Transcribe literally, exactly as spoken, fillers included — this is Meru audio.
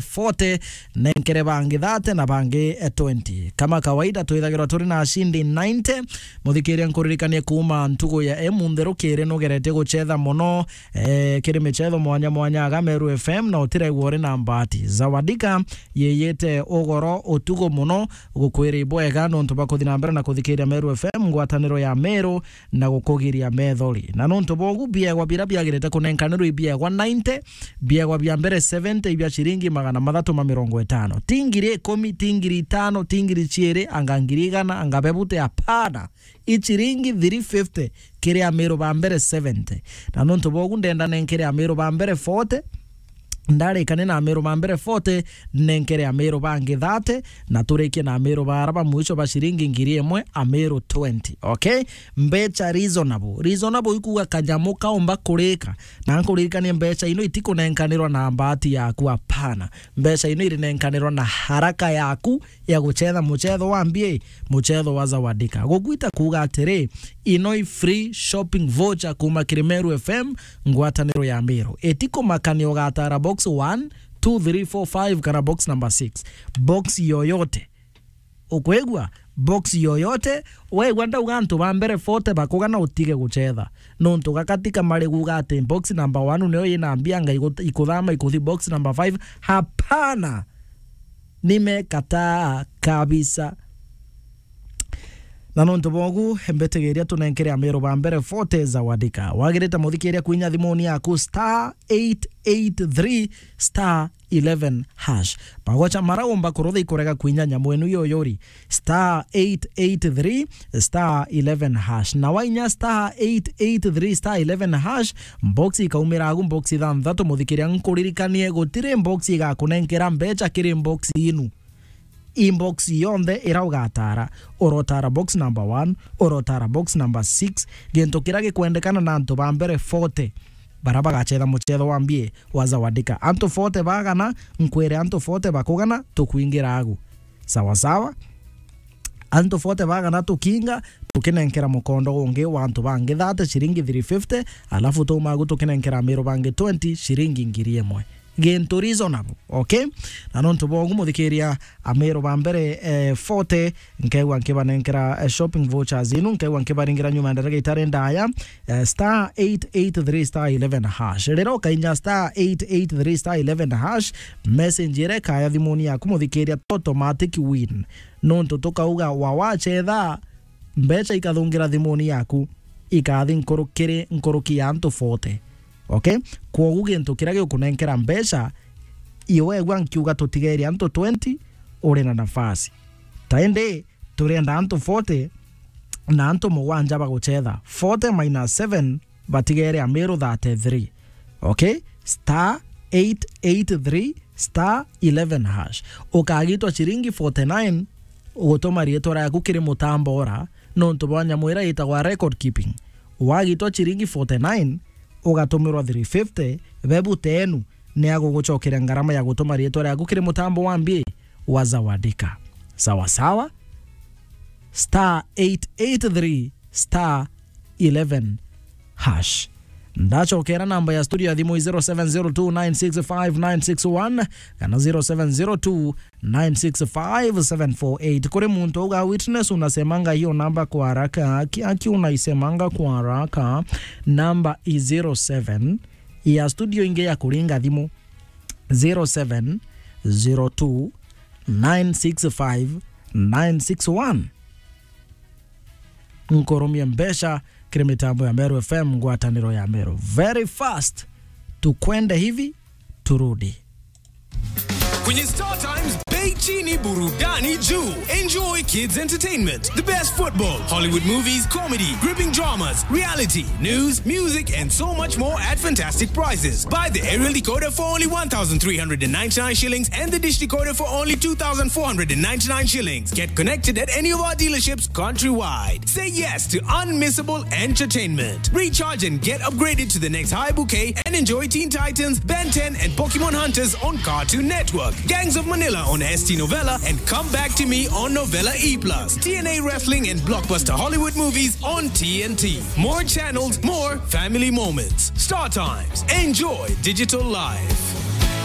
forty, nenkere bangi thirty na bangi, eh, twenty. Kama kawaida, twithagirwa turi na ashindi ninety. Muthikiria, nkuririkanie kuuma ntugu ya imunthi rukiri nugeretie gucetha mono, eh, kiri micetho mwanya mwanya aga Meru F M, na utiregwa uri na mbati. Zawadika yiyite ugoro utugo mono, gukwira ibwega nontu bwa kuthi na mbere na kuthikiria Meru F M, ngwataniro ya Meru, na gukugiria methori. Na nontu bwa ugu, biegwa bira biagirite kunenkanirwa ibiegwa ninety, biegwa bia mbere seventy ibia ciringi magana mathatu ma mirongo itano. Ti ngiri ikumi, ti ngiri itano, ti ngiri ciiri, anga ngiri igana, anga bebute, apana. I ciringi three fifty kiri Amiru ba mbere seventy. Na nontu bwa ugu, ndenda nenkere Amiru ba mbere forty, ndarikane na Amiru ba mbere forty, nenkere Amiru bangi thirty, na turikie na Amiru bara ba mwisho ba ciringi ngiri imwe, Amiru twenty. Okay? Mbecha reasonable. Reasonable ikuuga kanyamu kaumba kurika. Na nkuririkanie, mbecha ino itikunenkanirwa na mbati yaku, apana. Mbecha ino irinenkanirwa na haraka yaku ya gucetha mucetho wa mbia, mucetho wa Zawadika. Gugwita kuuga atiri, ino i free shopping voucher kuuma kiri Meru F M, ngwataniro ya Meru. Itikumakania ugatara box one, two, three, four, five kana box number six. Box yoyote. Ukwigua? Box yoyote. Wegua ndauga antu ba mbere forty bakugana, utige gucetha. Nontu gakati kamari kuuga ati box number one niyo ina mbia, anga igu-, ikuthama ikuthi box number five. Hapana. Nimekataa kabisa. Na nontu bwa ugu, mbitigiria tunenkere Amiru ba mbere forty Zawadika. Wagirite muthikiria kwinya thimuni yaku star eight eight three star eleven hash. Magocha mara umba kurutha ikurega kwinya nyamu inu yoyori, star eight eight three star eleven hash. Na wainya star eight eight three star eleven hash, box ikaumira agu, box ithanthatu. Muthikiria, nkuririkanie, gutiri box igakunenkera mbecha kiri box inu. Inbox yonthe ira ugatara, urotara box number one, urotara box number six, gintu kira gikwendekana na antu ba mbere forty bara bagacetha mucetho wa mbia wa Zawadika. Antu forty bagana, nkwire antu forty bakugana, tukwingira agu. Sawa sawa? Antu forty bagana tukinga, tukinenkera mukondo ungi wa antu bangi thirty, ciringi three fifty, alafu tuuma agu tukinenkera Amiru bangi twenty, ciringi ngiri imwe. Gintu reasonable, okay? Na nontu bwa ugu, muthikiria, Amiru ba mbere, eh, forty, nkegwa nkibanenkera, eh, shopping vouchers inu, nkegwa nkibaringira nyuma ya ndarika itari ndaya, eh, star eight eight three star eleven hash. Riria ukainya star eight eight three star eleven hash, message iria ikaya thimuni yaku, muthikiria, automatic win. Nontu tukauga wa wacetha, mbecha ikathungira thimuni yaku, ikathi nkuru-, kiri nkuruki ya antu forty. Okay? Kwogu gintu kiria gikunenkera mbecha, iwe egwa nkiuga tutigere antu twenty, uri na nafasi. Ta indi, turenda antu forty na antu mugwanja bagucetha. Forty minus seven, batigere Amiru thirty-three. Okay? Star eight eight three star eleven hash. Ukagitwa ciringi forty-nine, ugutuma riitwa riaku kiri mutambo ura, nontu bwa nyamu ira itagwa record keeping. Wagitwa ciringi forty-nine, ugatumirwa three fifty, bebu tenu ni agugucokeria ngarama ya gutuma riitwa riaku kiri mutambo wa mbia wa Zawadika. Sawa sawa? Star eight eight three star eleven hash. Ndacokera namba ya studio ya thimu i zero seven zero two nine six five nine six one kana zero seven zero two nine six five seven four eight. Kuri muntu uga, "Witness, unasemanga hiyo namba kwa haraka." Aki, aki unaisemanga kwa haraka. Namba i zero seven, ya studio ingi ya kuringa thimu, zero seven zero two nine six five nine six one. Nkurumie mbeca kiri mitambo ya Meru F M, ngwataniro ya Meru. Very fast. Tukwende hivi, turudi. Kwenye Star Times, bei chini, burudani juu. Enjoy kids entertainment, the best football, Hollywood movies, comedy, gripping dramas, reality, news, music, and so much more at fantastic prices. Buy the aerial decoder for only one thousand three hundred and ninety-nine shillings and the dish decoder for only two thousand four hundred and ninety-nine shillings. Get connected at any of our dealerships countrywide. Say yes to unmissable entertainment. Recharge and get upgraded to the next high bouquet and enjoy Teen Titans, Ben ten, and Pokemon Hunters on Cartoon Network, Gangs of Manila on S T Novella, and Come Back to Me on Novella E plus, T N A Wrestling and blockbuster Hollywood movies on T N T. More channels, more family moments. Star Times. Enjoy digital life.